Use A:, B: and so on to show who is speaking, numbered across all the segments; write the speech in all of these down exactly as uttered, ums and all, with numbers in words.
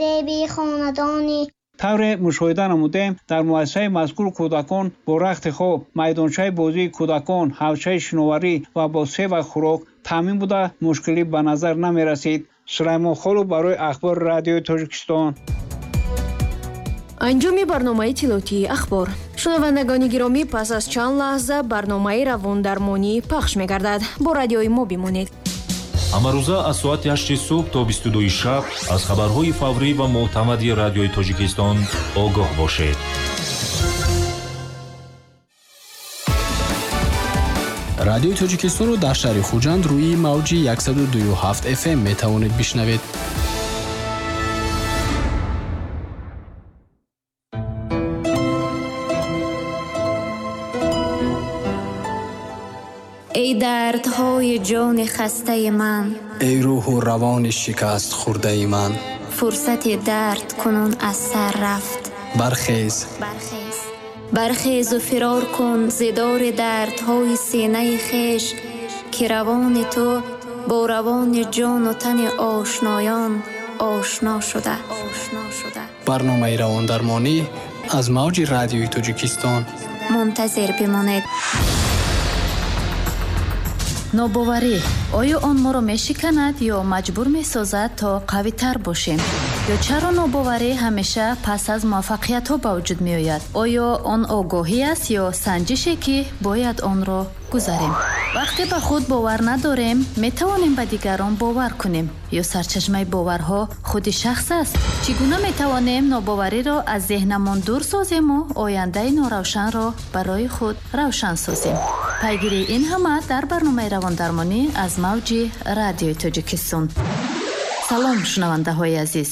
A: Зеби хонадони.
B: Тавре мушоҳида намудем, дар муассисаи мазкур кӯдакон бо рахти хоб, майдончаи бозии кӯдакон, ҳавзчаи шиноварӣ ва бо се вақт хӯрок таъмин буда, мушкилӣ ба назар намерасид. Сулаймон Холов барои Ахбори радиои Тоҷикистон.
C: Анҷоми барномаи тилотии ахбор. Шунавандагони гиромӣ, пас аз чанд лаҳза барномаи равондармонӣ пахш мегардад. Бо радиои мо бимонед.
D: Ҳамарӯза аз соати ҳашти субҳ то бисту дуи шаб аз хабарҳои фаврӣ ва мӯътамади радиои Тоҷикистон огоҳ бошед.
E: Радиои Тоҷикистонро дар шаҳри Хуҷанд рӯи мавҷи яксаду дую ҳафт эф эм метавонед бишнавед.
F: Эй дардҳои ҷони хастаи ман,
E: эй рӯҳу равони шикаст хӯрдаи ман,
F: фурсати дард кунун аз сар рафт.
E: Бархез,
F: бархез, бархезу фирор кун зи дори дардҳои синаи хеш, ки равони ту бо равони ҷону тани ошноён ошно шуда.
E: Барномаи равондармонӣ аз мавҷи радиои Тоҷикистон.
F: Мунтазир бимонед.
G: Нобоварӣ оё он моро мешиканад ё маҷбур месозад то қавитар бошем? Ё чаро нобоварӣ ҳамеша пас аз муваффақиятҳо ба вуҷуд меояд? Оё он огоҳӣ аст ё санҷише, ки бояд онро гузарем? Вақте ба худ бовар надорем, метавонем ба дигарон бовар кунем? Ё сарчашмаи боварҳо худи шахс аст? Чӣ гуна метавонем нобовариро аз зеҳнамон дур созему ояндаи норавшанро барои худ равшан созем? Пайгирии ин ҳама дар барномаи равондармонӣ аз мавҷи радиои Тоҷикистон. Салом, шунавандаҳои азиз.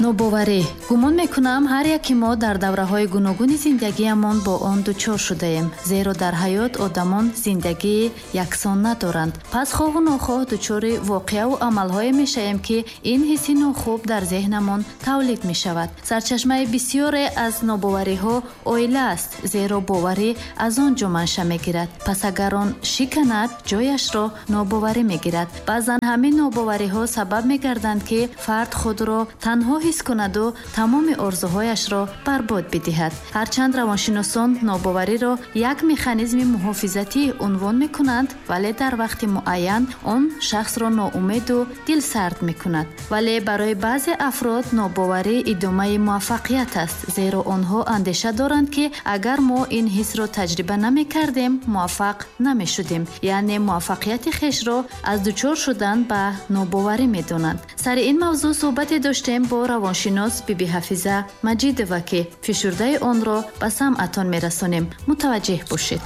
G: Нобоварӣ. Гумон мекунам, ҳар яки мо дар давраҳои гуногуни зиндагиамон бо он дучор шудаем, зеро дар ҳаёт одамон зиндагии яксон надоранд. Пас хоҳу нохоҳ дучори воқеаву амалҳое мешавем, ки ин ҳисси нохуб дар зеҳнамон тавлид мешавад. Сарчашмаи бисёре аз нобовариҳо оила аст, зеро боварӣ аз он ҷо манша мегирад. Пас агар он шиканад, ҷояшро нобоварӣ мегирад. Баъзан ҳамин нобовариҳо сабаб мегарданд, ки фард худро танҳо ҳис кунаду тамоми орзуҳояшро барбод бидиҳад. Ҳарчанд равоншиносон нобовариро як механизми муҳофизатӣ унвон мекунанд, вале дар вақти муайян он шахсро ноумеду дилсард мекунад. Вале барои баъзе афрод нобоварӣ идомаи муваффақият аст, зеро онҳо андеша доранд, ки агар мо ин ҳисро таҷриба намекардем, муваффақ намешудем. Яъне муваффақияти хешро аз дучор шудан ба нобоварӣ медонанд. Сари ин мавзӯъ суҳбате доштем бо равоншинос Биби Ҳафиза Маҷидова, ки фишурдаи онро ба самъатон мерасонем. Мутаваҷҷеҳ бошед.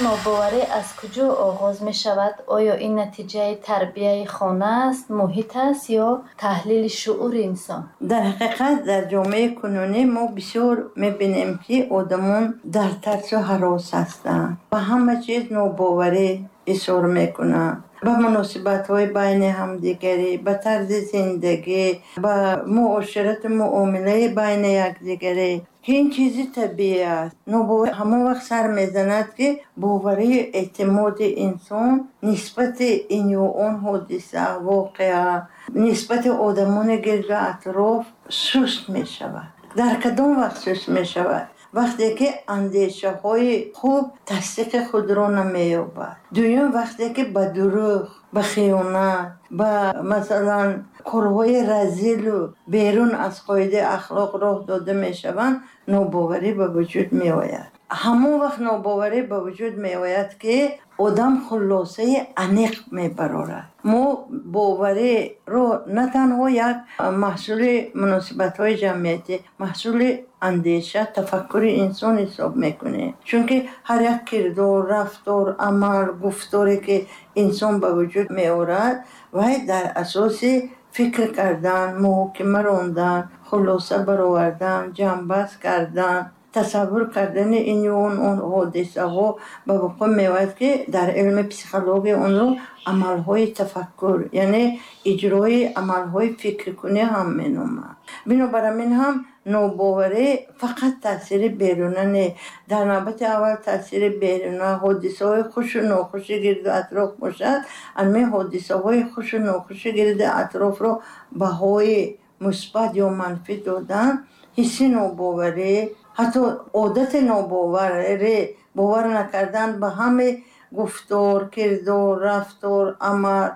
G: Нобоварӣ аз куҷо оғоз мешавад? Оё ин натиҷаи тарбияи хона аст, муҳит аст ё таҳлили шуури инсон?
H: Дар ҳақиқат дар ҷомеаи кунунӣ мо бисёр мебинем, ки одамон дар тарсу ҳарос ҳастанд, ба ҳама чиз нобоварӣ изҳор мекунанд, ба муносибатҳои байни ҳамдигарӣ, ба тарзи зиндагӣ, ба муоширату муомилаи байни якдигарӣ. Ин чизи табиӣ аст. Нобоварӣ ҳамон вақт сар мезанад, ки боварию эътимоди инсон нисбати ин ё он ҳодиса, воқеа, нисбати одамони гирду атроф суст мешавад. Дар кадом вақт суст мешавад? Вақте ки андешаҳои хуб тасдиқи худро намеёбад. Дуюм, вақте ки ба дурӯғ, ба хиёнат, ба масалан корҳои разилу берун аз қоидаи ахлоқ роҳ дода мешаванд, нобоварӣ ба вуҷуд меояд. Ҳамон вақт нобоварӣ ба вуҷуд меояд, ки одам хулосаи аниқ мебарорад. Мо бовариро на танҳо як маҳсули муносибатҳои ҷамъиятӣ, маҳсули андеша, тафаккури инсон ҳисоб мекунем. Чунки ҳар як кирдор, рафтор, амал, гуфторе ки инсон ба вуҷуд меорад, вай дар асоси фикр кардан, муҳокима рондан, хулоса баровардан, ҷамъбаст кардан Тасаввур кардани ин ё он ҳодисаҳо ба вуқӯъ меояд, ки дар илми психология онро амалҳои тафаккур, яъне иҷрои амалҳои фикркунӣ ҳам меноманд. Бинобар ҳамин ҳам нобоварӣ фақат таъсири беруна не, дар навбати аввал таъсири беруна, ҳодисаҳои хушу нохуши гирду атроф бошад, ҳамин ҳодисаҳои хушу нохуши гирду атрофро баҳои мусбат ё манфӣ додан, ҳисси нобоварӣ, ҳатто одати нобоварӣ, бовар накардан ба ҳаме гуфтор, кирдор, рафтор, амал,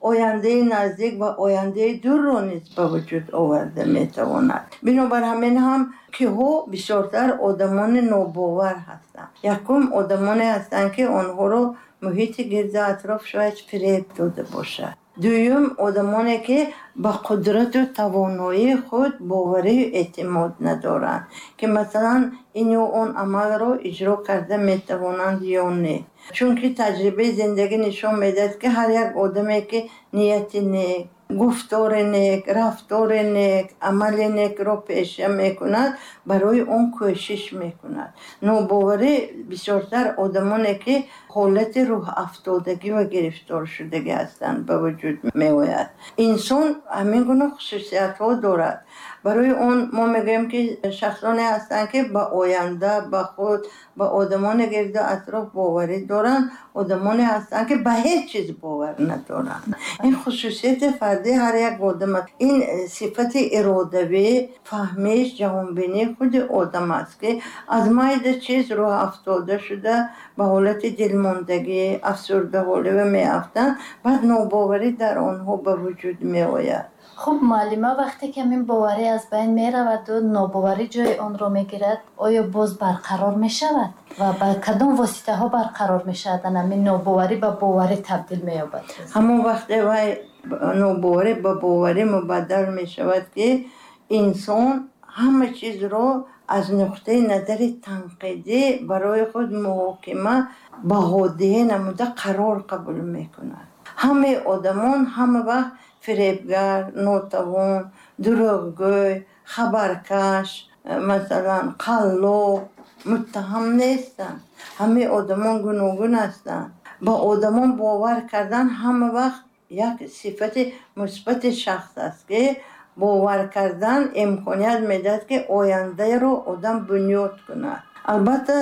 H: ояндаи наздик ва ояндаи дурро низ ба вуҷуд оварда метавонад. Бинобар ҳамин ҳам киҳо бисёртар одамони нобовар ҳастанд. Якум одамоне ҳастанд, ки онҳоро муҳити гирду атроф шояд фиреб дода бошад. Дуюм одамоне, ки ба қудрату тавоноии худ боварию эътимод надоранд, ки масалан ин ё он амалро иҷро карда метавонанд ё не. Чунки таҷрибаи зиндагӣ нишон медиҳад, ки ҳар як одаме, ки нияти нек, гуфтори нек, рафтори нек, амали некро пеша мекунад, барои он кӯшиш мекунад. Нобоварӣ бисёртар одамоне, ки ҳолати рӯҳафтодагӣ ва гирифторшудагӣ ҳастанд, ба вуҷуд меояд. Инсон ҳамин гуна хусусиятҳо дорад. Барои он мо мегӯем, ки шахсоне ҳастанд, ки ба оянда, ба худ, ба одамони гирду атроф боварӣ доранд, одамоне ҳастанд, ки ба ҳеҷ чиз бовар надоранд. Ин хусусияти фардии ҳар як одам аст. Ин сифати иродавӣ, фаҳмиш, ҷаҳонбинии худи одам аст, ки аз майда чиз рӯҳафтода шуда ба ҳолати дилмондагӣ, афсурдаҳолӣ меафтанд, баъд нобоварӣ дар онҳо ба вуҷуд меояд.
G: Хуб, муаллима, вақте ки ҳамин боварӣ аз байн мераваду нобоварӣ ҷои онро мегирад, оё боз барқарор мешавад ва ба кадом воситаҳо барқарор мешавад? Ҳамин нобоварӣ ба боварӣ табдил меёбад.
H: Ҳамон вақте вай нобоварӣ ба боварӣ мубаддал мешавад, ки инсон ҳама чизро аз нуқтаи назари танқидӣ барои худ муҳокима, баҳодиҳӣ намуда қарор қабул мекунад. Ҳамаи одамон ҳама вақт фиребгар, нотавон, дурӯғгӯй, хабаркаш, масалан қаллоб, муттаҳам нестанд. Ҳамаи одамон гуногун ҳастанд. Ба одамон бовар кардан ҳама вақт як сифати мусбати шахс аст, ки бовар кардан имконият медиҳад, ки ояндаро одам бунёд кунад. Албатта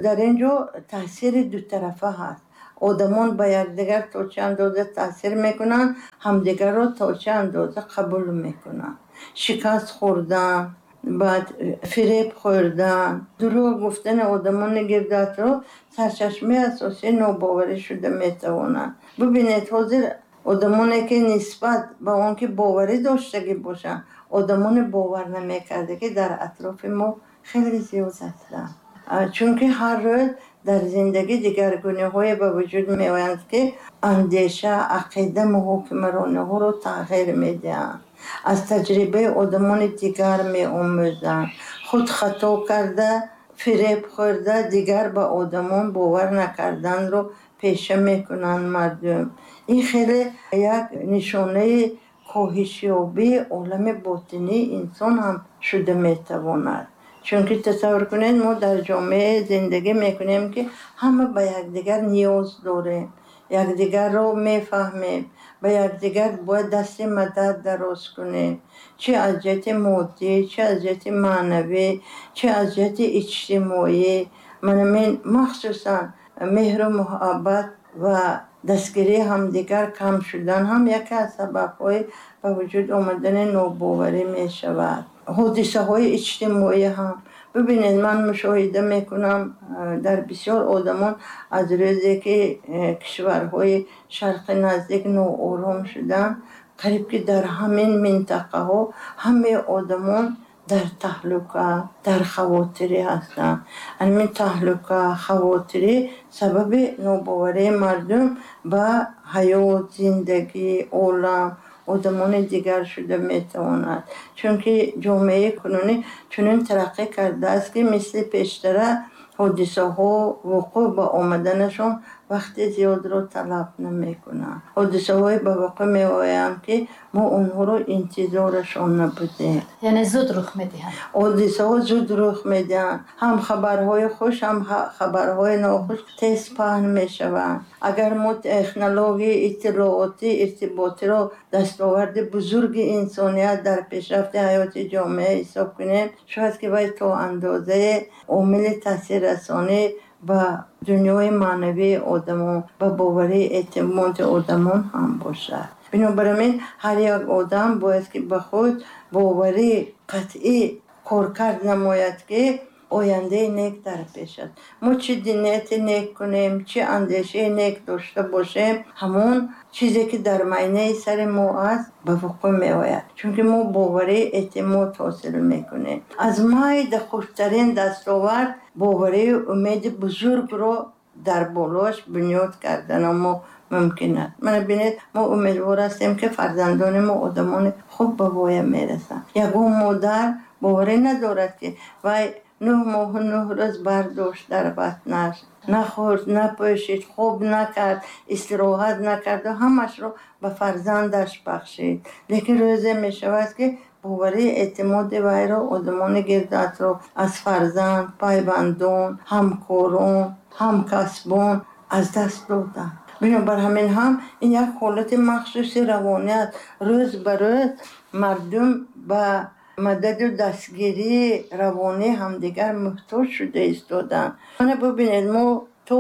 H: дар ин ҷо таъсири дутарафа ҳаст. Одамон ба якдигар то чӣ андоза таъсир мекунанд, ҳамдигарро то чӣ андоза қабул мекунанд. Шикаст хӯрдан, баъд фиреб хӯрдан, дурӯғ гуфтани одамони гирду атроф сарчашмаи асосии нобоварӣ шуда метавонанд. Бибинед, ҳозир одамоне, ки нисбат ба он ки боварӣ доштагӣ бошанд, одамони бовар намекарда, ки дар атрофи мо хеле зиёд ҳастанд. Чунки ҳар рӯз дар зиндагӣ дигаргуниҳое ба вуҷуд меоянд, ки андеша, ақида, муҳокимарониҳоро тағйир медиҳанд. Аз таҷрибаи одамони дигар меомӯзанд. Худ хато карда, фиреб хӯрда, дигар ба одамон бовар накарданро пеша мекунанд мардум. Ин хеле як нишонаи коҳишёбии олами ботинии инсон ҳам шуда метавонад. Чунки тасаввур кунед, мо дар ҷомеа зиндагӣ мекунем, ки ҳама ба якдигар ниёз дорем, якдигарро мефаҳмем, ба якдигар бояд дасти мадад дароз кунем, чӣ аз ҷиҳати моддӣ, чӣ аз ҷиҳати маънавӣ, чӣ аз ҷиҳати иҷтимоӣ. Манамин махсусан меҳру муҳаббат ва дастгирии ҳамдигар кам шудан ҳам яке аз сабабҳои ба вуҷуд омадани нобоварӣ мешавад. Ҳодисаҳои иҷтимоӣ ҳам бибинед, ман мушоҳида мекунам дар бисёр одамон аз рӯзе, ки кишварҳои шарқи наздик ноором шуданд, қариб ки дар ҳамин минтақаҳо ҳамаи одамон дар таҳлука, дар хавотирӣ ҳастанд. Ҳамин таҳлука, хавотирӣ сабаби нобоварии мардум ба ҳаёт, зиндагӣ, олам, одамони дигар шуда метавонад. Чунки ҷомеаи кунунӣ чунин тараққӣ кардааст, ки мисли пештара ҳодисаҳо вуқӯъ ба омаданашон вақти зиёдро талаб намекунанд. Ҳодисаҳое ба воқеъ меоянд, ки мо онҳоро интизорашон набудем.
G: Яъне зуд рух медиҳанд.
H: Ҳодисаҳо зуд рух медиҳанд. Ҳам хабарҳои хуш, ҳам хабарҳои нохуш тез паҳн мешаванд. Агар мо технологияи иттилоотӣ, иртиботиро дастоварди бузурги инсоният дар пешрафти ҳаёти ҷомеа ҳисоб кунем, шояд ки вай то андозае омили таъсиррасонӣ ба дунёи маънавии одамон, ба боварии эътимоди одамон ҳам бошад. Бинобар ин ҳар як одам бояд ки ба худ боварии қатъӣ коркард намояд, ки ояндаи нек дар пеш аст. Мо чӣ нияти нек кунем, чӣ андешаи нек дошта бошем, ҳамон чизе ки дар майнаи сари мо аст ба вуқӯъ меояд, чунки мо боварии эътимод ҳосил мекунем. Аз майда хурдтарин дастовард боварии умеди бузургро дар болоаш бунёд кардана мо мумкин аст. Мана бинед, мо умедвор ҳастем, ки фарзандони мо одамони хуб ба воя мерасанд. Ягон модар боварӣ надорад, ки вай нӯҳ моҳу нӯҳ рӯз бардошт дар батнаш, нахӯрд, напӯшид, хоб накард, истироҳат накарду ҳамашро ба фарзандаш бахшид. Лекин рӯзе мешавад, ки боварии эътимоди вайро одамони гирду атроф аз фарзанд, пайвандон, ҳамкорон, ҳамкасбон аз даст доданд. Бинобар ҳамин ҳам ин як ҳолати махсуси равонӣ аст. Рӯз ба рӯз мардум ба мададу дастгирии равонии ҳамдигар муҳтоҷ шуда истоданд. Мана бубинед, мо то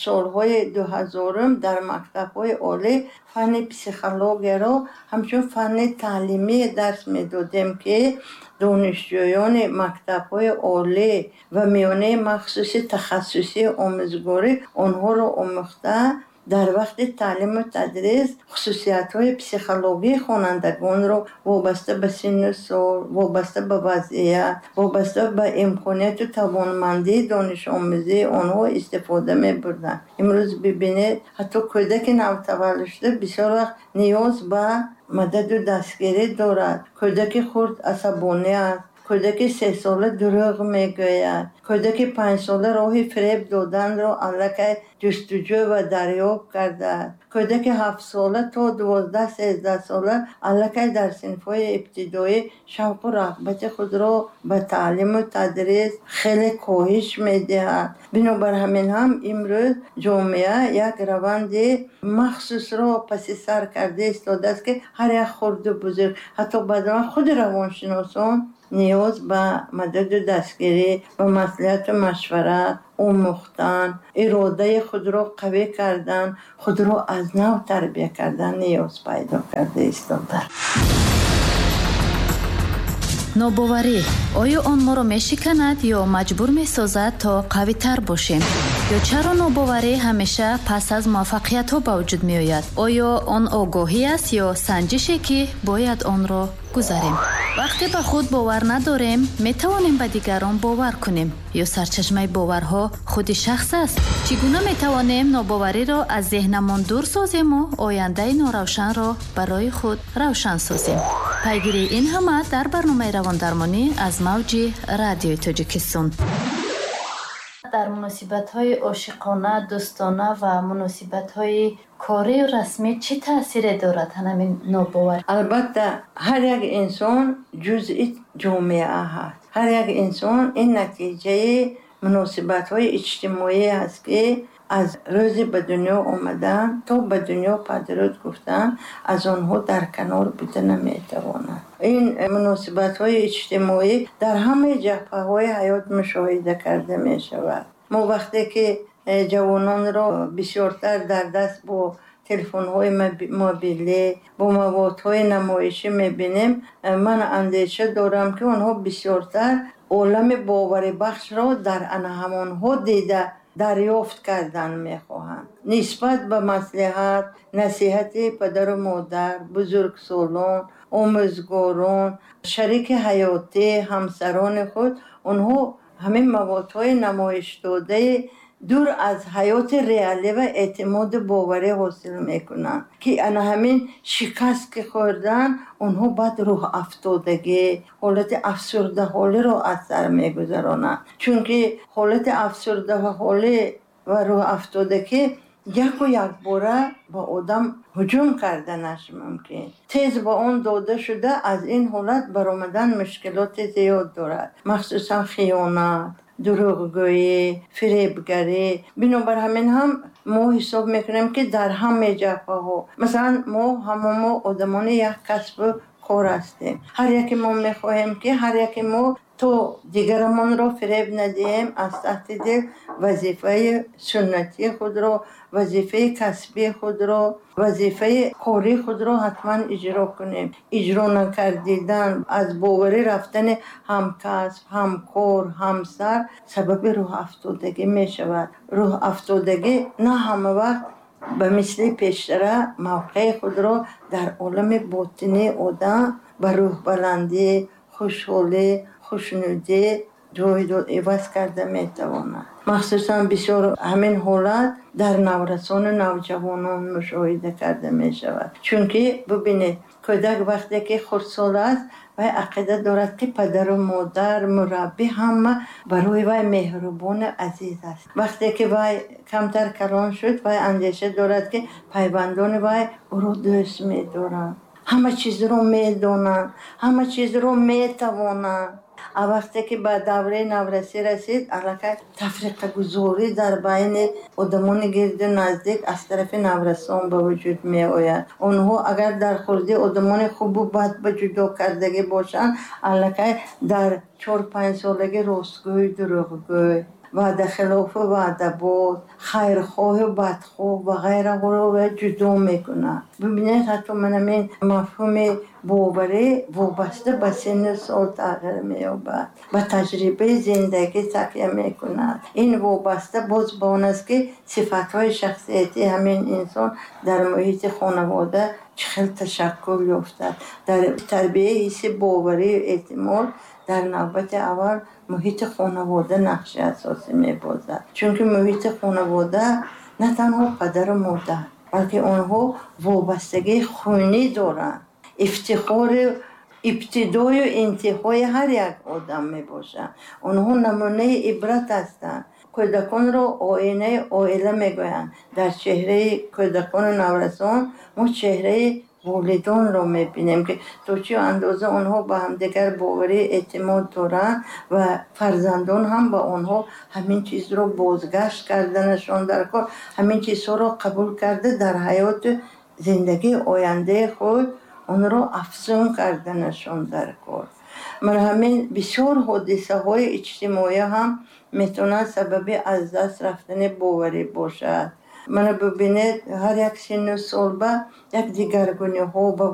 H: солҳои дуҳазорум дар мактабҳои олӣ фанни психологияро ҳамчун фанни таълимӣ дарс медодем, ки донишҷӯёни мактабҳои олӣ ва миёнаи махсуси тахассусии омӯзгорӣ онҳоро омӯхта дар вақти таълиму тадрис хусусиятҳои психологии хонандагонро вобаста ба синну сол, вобаста ба вазъият, вобаста ба имконияту тавонмандии донишомӯзии онҳо истифода мебурданд. Имрӯз бибинед, ҳатто кӯдаки навтаваллудшуда бисёр вақт ниёз ба мададу дастгирӣ дорад. Кӯдаки хурд асабонӣ аст, кӯдаки сесола дурӯғ мегӯяд, кӯдаки панҷсола роҳи фиреб доданро аллакай ҷустуҷӯ ва дарёб кардааст, кӯдаки ҳафтсола то дувоздаҳ сездаҳсола аллакай дар синфҳои ибтидоӣ шавқу рағбати худро ба таълиму тадрис хеле коҳиш медиҳад. Бинобар ҳамин ҳам имрӯз ҷомеа як раванди махсусро паси сар карда истодааст, ки ҳар як хурду бузург, ҳатто баъзан худи равоншиносон ниёз ба мададу дастгирӣ, ба маслиҳату машварат, омӯхтан, иродаи худро қавӣ кардан, худро аз нав тарбия кардан ниёз пайдо карда истодааст.
G: Нобоварӣ оё он моро мешиканад ё маҷбур месозад то қавитар бошем? Ё чаро нобоварӣ ҳамеша пас аз муваффақиятҳо ба вуҷуд меояд? Оё он огоҳӣ аст ё санҷише, ки бояд онро гузарем? Вақте ба худ бовар надорем, метавонем ба дигарон бовар кунем? Ё сарчашмаи боварҳо худи шахс аст? Чӣ гуна метавонем нобовариро аз зеҳнамон дур созему ояндаи норавшанро барои худ равшан созем? Пайгирии ин ҳама дар барномаи равондармонӣ аз мавҷи радиои Тоҷикистон. Дар муносибатҳои ошиқона, дӯстона ва муносибатҳои корию расмӣ чӣ таъсире дорад ҳамин нобоварӣ?
H: Албатта, ҳар як инсон ҷузъи ҷомеа ҳаст. Ҳар як инсон ин натиҷаи муносибатҳои иҷтимоӣ аст, ки аз рӯзи ба дунё омадан то ба дунё падруд гуфтан аз онҳо дар канор буда наметавонад. Ин муносибатҳои иҷтимоӣ дар ҳамаи ҷабҳаҳои ҳаёт мушоҳида карда мешавад. Мо вақте ки ҷавононро бисёртар дар даст бо телефонҳои мобилӣ, бо маводҳои намоишӣ мебинем, ман андеша дорам, ки онҳо бисёртар олами боварибахшро дар ана ҳамонҳо дида дарёфт кардан мехоҳанд. Нисбат ба маслиҳат, насиҳати падару модар, бузургсолон, омӯзгорон, шарики ҳаётӣ, ҳамсарони худ, онҳо ҳамин маводҳои намоишдодаи дур аз ҳаёти реалӣ ва эътимоду боварӣ ҳосил мекунанд, ки ана ҳамин шикаст ки хӯрдан, онҳо баъд рӯҳафтодагӣ, ҳолати афсурдаҳолиро аз сар мегузаронанд. Чунки ҳолати афсурдаҳолӣ ва рӯҳафтодагӣ Яку якбора ба одам ҳуҷум карданаш мумкин. Тез ба он дода шуда, аз ин ҳолат баромадан мушкилоти зиёд дорад. Махсусан хиёнат, дурӯғгӯӣ, фиребгарӣ. Бинобар ҳамин ҳам мо ҳисоб мекунем, ки дар ҳама ҷабҳаҳо, масалан, мо ҳама мо одамони як касбу кор ҳастем. Ҳар яке мо мехоҳем, ки ҳар яке мо то дигарамонро фиреб надиҳем, аз таҳти дил вазифаи суннатии худро, вазифаи касбии худро, вазифаи кории худро ҳатман иҷро кунем. Иҷро накардидан, аз боварӣ рафтани ҳамкасб, ҳамкор, ҳамсар сабаби рӯҳафтодагӣ мешавад. Рӯҳафтодагӣ на ҳама вақт ба мисли пештара мавқеи худро дар олами ботинии одам ба рӯҳбаландӣ, хушҳолӣ, хушнудӣ ҷой иваз карда метавонад. Махсусан бисёр ҳамин ҳолат дар наврасону навҷавонон мушоҳида карда мешавад. Чунки бубинед, кӯдак вақте ки хурдсол аст, вай ақида дорад, ки падару модар, мураббӣ ҳама барои вай меҳрубону азиз аст. Вақте ки вай камтар калон шуд, вай андеша дорад, ки пайвандони вай ӯро дӯст медоранд, ҳама чизро медонанд, ҳама чизро метавонанд. А вақте ки ба давраи наврасӣ расид, аллакай тафриқагузорӣ дар байни одамони гирду наздик аз тарафи наврасон ба вуҷуд меояд. Онҳо агар дар хурдӣ одамони хубу бад ба ҷудо кардагӣ бошанд, аллакай дар чор-панҷ солагӣ ростгӯй, дурӯғгӯй, ваъдахилофу ваъдабоз, хайрхоҳу бадхоҳ ва ғайраҳоро ҷудо мекунад. Бибинед, ҳатто манамин мафҳуми боварӣ вобаста ба синну сол тағйир меёбад, ба таҷрибаи зиндагӣ такя мекунад. Ин вобаста боз ба он аст, ки сифатҳои шахсиятии ҳамин инсон дар муҳити хонавода чӣ хел ташаккул ёфтад. Дар тарбияи ҳисси боварию эътимод дар навбати аввал муҳити хонавода нақши асосӣ мебозад. Чунки муҳити хонавода на танҳо падару модар, балки онҳо вобастагии хунӣ доранд. Ифтихори ибтидою интиҳои ҳар як одам мебошанд. Онҳо намунаи ибрат ҳастанд. Кӯдаконро оинаи оила мегӯянд. Дар чеҳраи кӯдакону наврасон мо чеҳраи волидонро мебинем, ки то чӣ андоза онҳо ба ҳамдигар боварӣ эътимод доранд ва фарзандон ҳам ба онҳо ҳамин чизро бозгашт карданашон дар кор, ҳамин чизҳоро қабул карда дар ҳаёту зиндагии ояндаи худ онро афзун карданашон дар кор. Мана ҳамин бисёр ҳодисаҳои иҷтимоӣ ҳам метавонад сабаби аз даст рафтани боварӣ бошад. Мана бибинед, ҳар як синну сол ба як дигаргуниҳо ба